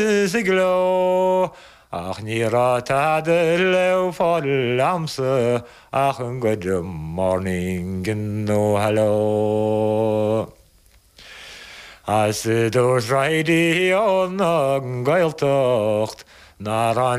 Is i gcló, ach ní raibh tada le fáil a'msa ach an good morning nó hello. As dúirt Raidió na Gaeltacht nár fhan.